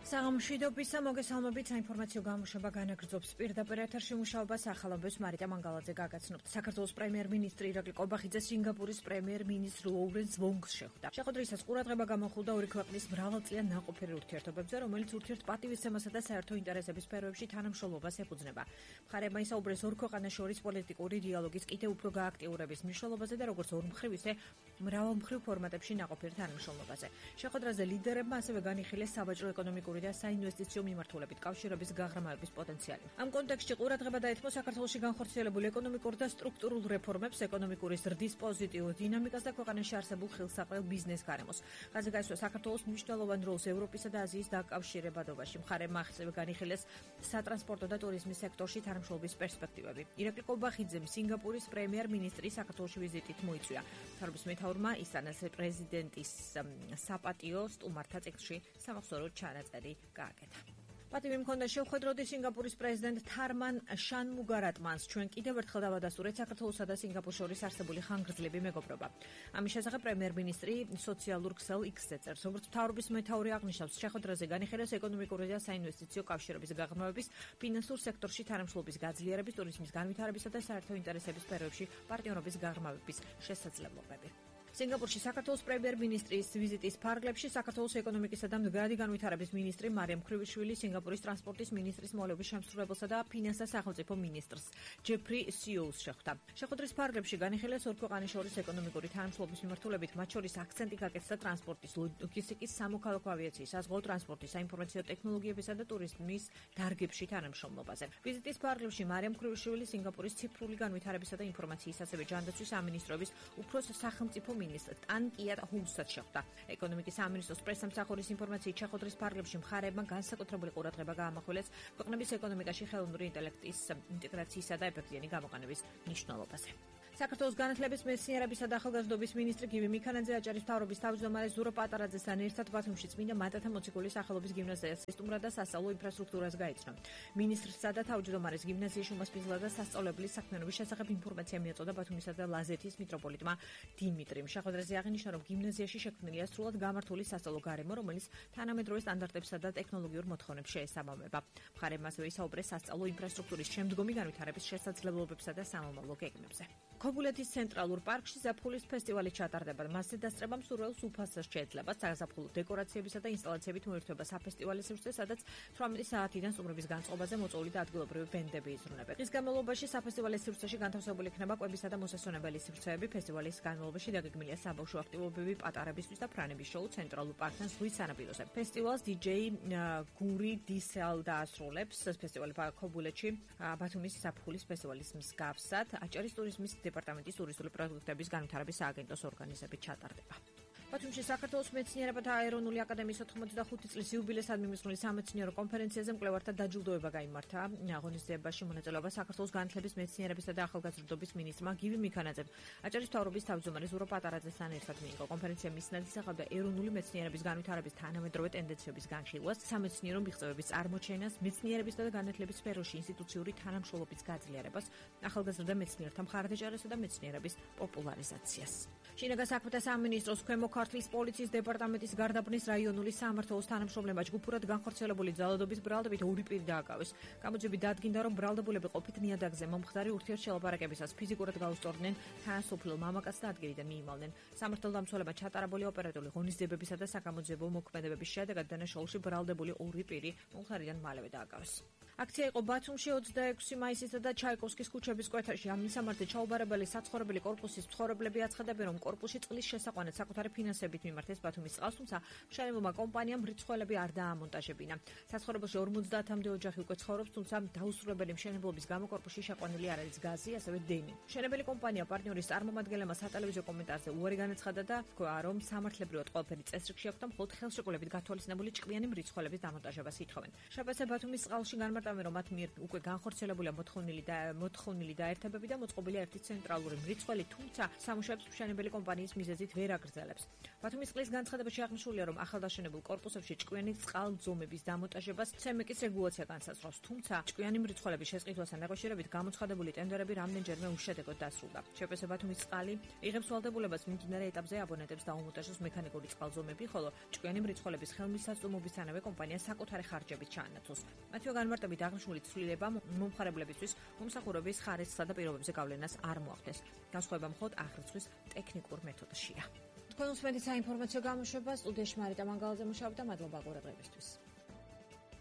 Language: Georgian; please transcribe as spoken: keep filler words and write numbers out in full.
სამშვიდობის მოგესალმებით, საინფორმაციო გამოშვება განაგრძობს პირდაპირ ეთერში მუშაობას ახალობებს მარიტა მანგალაძე გაგაცნობთ. საქართველოს პრემიერ-მინისტრი ირაკლი ყობახიძე სინგაპურის პრემიერ-მინისტრ ლოურენს ვონგს შეხვდა. შეხვედრისას ყურადღება გამოხულდა ორი ქვეყნის მრავალწლიან ნაყოფიერ ურთიერთობებზე, რომელიც ურთიერთპატივისცემასა და საერთო ინტერესების სფეროებში თანამშრომლობას ეფუძნება. მხარეებმა ისაუბრეს ორ ქვეყანას შორის პოლიტიკური დიალოგის კიდევ უფრო გააქტიურების მნიშვნელობაზე და როგორც ორმხრივ, ისე მრავალმხრივ ფორმატებში ნაყოფიერ თანამშრომლობაზე. შეხვედრაზე ლიდერებმა ასევე განიხილეს საბაჟო ეკონომიკური და საინვესტიციო მიმართულებით კავშირების გაღრმავების პოტენციალი. ამ კონტექსტში ყურადღება დაეთმო საქართველოში განხორციელებულ ეკონომიკურ და სტრუქტურულ რეფორმებს, ეკონომიკური ზრდის პოზიტიურ დინამიკას და ქვეყანაში არსებულ ხელსაყრელ ბიზნეს გარემოს. ხაზი გაისვა საქართველოს მნიშვნელოვან როლს ევროპისა და აზიის დაკავშირებადობაში. მხარეებმა ასევე განიხილეს სატრანსპორტო და ტურიზმის სექტორში თანამშრომლობის პერსპექტივები. ირაკლი ყობახიძემ სინგაპურის პრემიერ-მინისტრის საქართველოში ვიზიტით მოიწვია. თავის მეთაურმა ისანას პრეზიდენტის საპატიო სტუმართა ციკლში სამახსოვრო ჩანაწერი გააკეთა. პატივი მქონდა შევხვედროდი სინგაპურის პრეზიდენტ თარმან შანმუგარატმანს. ჩვენ კიდევ ერთხელ დავადასტურეთ საქართველოსა და სინგაპურს შორის არსებული ხანგრძლივი მეგობრობა. ამის შესახებ პრემიერ-მინისტრი სოციალურ ქსელ X-ზე წერს. როგორც მთავრობის მეთაური აღნიშნავს, შეხვედრაზე განიხილეს ეკონომიკური და საინვესტიციო კავშირების გაღრმავების, ფინანსურ სექტორში თანამშრომლობის გაძლიერების, ტურიზმის განვითარებისა და საერთო ინტერესების სფეროებში პარტნიორობის გაღრმავების შესაძლებლობები. სინგაპურში საქართველოს პრემიერ-მინისტრის ვიზიტის ფარგლებში საქართველოს ეკონომიკისა და მდგრადი განვითარების მინისტრი მარიამ ქრივიშვილი, სინგაპურის ტრანსპორტის მინისტრის მოლების შემსრულებელსა და ფინანსთა სახელმწიფო მინისტრს ჯეფრი სიოულს შეხვდა. შეხვედრის ფარგლებში განიხილეს ორ ქვეყნის შორის ეკონომიკური თანამშრომლობის მიმართულებით, მათ შორის აქცენტი გაკეთდა ტრანსპორტის, ლოგისტიკის, სამოქალაქო ავიაციის, საზღვაო ტრანსპორტის, საინფორმაციო ტექნოლოგიებისა და ტურიზმის დარგებში თანამშრომლობაზე. ვიზიტის ფარგლებში მარიამ ქრივიშვილი სინგაპურის ციფრული განვითარებისა და ინფორმაციის, ასევე ჯანდაცვის სამინისტროების უფროს სახელმწიფო მინისტრ ტანკიატ ჰუსად შეხვდა. ეკონომიკის სამინისტროს პრესამსახურის ინფორმაციით შეხვედრის ფარგლებში მხარეებმა განსაკუთრებული ყურადღება გაამახვილეს ქვეყნების ეკონომიკაში ხელოვნური ინტელექტის ინტეგრაციისა და ეფექტიანი გამოყენების მნიშვნელობაზე. საქართველოს განათლების, მეცნიერებისა და ახალგაზრდობის მინისტრი გივი მიქანაძე აჭარის მთავრობის თავმჯდომარე ზურო პატარაძესთან ერთად ბათუმში წმინდა მატათა მოციქულის სახელობის გიმნაზიას სტუმრად და სასწავლო ინფრასტრუქტურას გაიცნო. მინისტრსა და თავმჯდომარეს გიმნაზიაში უმასპინძლა და სასწავლებლის საქმიანობის შესახებ ინფორმაცია მიაწოდა ბათუმისა და ლაზეთის მიტროპოლიტმა დიმიტრიმ. შეხვედრაზე აღინიშნა, რომ გიმნაზიაში შექმნილია სრულად გამართული სასწავლო გარემო, რომელიც თანამედროვე სტანდარტებსა და ტექნოლოგიურ მოთხოვნებს შეესაბამება. მხარეებმა ასევე ისაუბრეს სასწავლო ინფრასტრუქტურის შემდგომი განვითარების შესაძლებლობებსა და სამომავლო გეგმებზე. ქობულეთის ცენტრალურ პარკში ზაფხულის ფესტივალი ჩატარდება. მასზე დასწრებამ სურვილს უფასს შეეძლება. საზაფხულო დეკორაციებისა და ინსტალაციებით მოირთვება საფესტივალო სივრცე, სადაც თვრამეტი საათიდან სტუმრების განწყობაზე მოწვეული და ადგილობრივი ბენდები იზრუნებენ. დღის განმავლობაში საფესტივალო სივრცეში განთავსებული იქნება კვებისა და მოსასვენებელი სივრცეები. ფესტივალის განმავლობაში დაგეგმილია საბავშვო აქტივობები პატარებისთვის და ფრანების შოუ ცენტრალურ პარკთან ზღვის სანაპიროზე. ფესტივალს დი-ჯეი გური დისელ დაასრულებს. ფესტივალი ქობულეთში ბათუმის ზაფხულის ფესტივალის მსგავსად აჭარის ტურიზმის დეპარტამენტის ტურისტული პროდუქტების განვითარების სააგენტოს ორგანიზებით ჩატარდება. ბათუმში საქართველოს მეცნიერებათა აერონული აკადემიის ოთხმოცდახუთი წლის იუბილეისადმი მიმსვლელი სამეცნიერო კონფერენციაზე მკვლევართა დაჯილდოება გაიმართა. აღონიზებაში მონაწილეობა საქართველოს განათლების, მეცნიერებისა და ახალგაზრდობის მინისტრმა გივი მიქანაძემ აჭარის მთავრობის თავმჯდომარე ზურო პატარაძესთან ერთად მიიღო. კონფერენცია მისნად ისახავდა ეროვნული მეცნიერების განვითარების თანამედროვე ტენდენციების განხილვას, სამეცნიერო მიღწევების წარმოჩენას, მეცნიერებისა და განათლების სფეროში ინსტიტუციური თანამშრომლობის გაძლიერებას, ახალგაზრდა მეცნიერთა მხარდაჭერასა და მეცნიერების პოპულარიზაციას. შინაგან საქმეთა სამინისტროს ქვემო ქართლის პოლიციის დეპარტამენტის გარდაბნის რაიონული სამმართველოს თანამშრომლებმა ჯგუფურად განხორციელებული ძალადობის ბრალდებით ორი პირი დააკავეს. გამოძიებით დადგინდა, რომ ბრალდებულები ყოფით ნიადაგზე მომხდარი ურთიერთშელაპარაკებისას ფიზიკურად გაუსწორდნენ თანასოფლელ მამაკაცს და ადგილიდან მიიმალნენ. სამართალდამცველებმა ჩატარებული ოპერატიული ღონისძიებებისა და საგამოძიებო მოქმედებების შედეგად დანაშაულში ბრალდებული ორი პირი მომხდარიდან მალევე დააკავეს. აქცია იყო ბათუმში ოცდაექვსი მაისისა და ჩაიკოვსკის ქუჩების კვეთარში. ამ მისამართზე ჩაუბარებელი საცხოვრებელი კორპუსის მცხოვრებლები აცხადებენ, რომ კორპუსში წყლის შესაყვანად საკუთარი ფინანსებით მიმართეს ბათუმის წყალს, თუმცა მშენებლობა კომპანიამ მრიცხველები არ დაამონტაჟებინა. საცხოვრებელში ორმოცდაათამდე ოჯახი უკვე ცხოვრობს, თუმცა დაუსრულებელი მშენებლობის გამო კორპუსში შეყვანილი არ არის გაზი, ასევე დენი. მშენებელი კომპანია პარტნიორის წარმომადგენლებმა სატელევიზიო კომენტარზე უარი განაცხადა და თქვა, რომ სამართლებრივად ყველაფერი წესრიგში აქვს და მხოლოდ ხელშეკრულებით გათვალისწინებული ჭკვიანი მრიცხველების დამონტაჟებას ითხოვენ. შაბათზე ბათუმის წყალში განმარტავენ, რომ მათ მიერ უკვე განხორციელებულია მოთხოვნილი და მოთხოვნილი დაერთებები და მოწყობილია ერთი ცენტრალური მრიცხველი, თუმცა სამუშაოებს მშენებელი კომპანიის მიზეზით ვერ აგრძელებს. ბათუმის წყლის განცხადებაში აღნიშნულია, რომ ახალდაშენებულ კორპუსებში ჭკვიანი წყალძომების დამონტაჟებას ცემეკის რეგულაცია განსაზღვრავს, თუმცა ჭკვიანი მრიცხველების შესყიდვასთან დაკავშირებით გამოცხადებული ტენდერები რამდენჯერმე უშედეგოდ დასრულდა. შეპესე ბათუმის წყალი იღებს ვალდებულებას მიმდინარე ეტაპზე აბონენტებს დაუმონტაჟოს მექანიკური წყალძომები, ხოლო ჭკვიანი მრიცხველების ხელმისაწვდომობისთანავე კომპანია საკუთარი ხარჯებით ჩაანაცვლოს. მათივე განმარტებით აღნიშნული ცვლილებამ მომხმარებლებისთვის მომსახურების ხარისხსა და პირობებზე გავლენას არ მოახდენს. განსხვავება მხოლოდ აღრიცხვის ტექნიკურ მეთოდშია. თქვენ უსმენთ საინფორმაციო გამოშვებას, სტუდიაში მარიტა მანგალაძე მუშაობდა, მადლობა ყურადღებისთვის.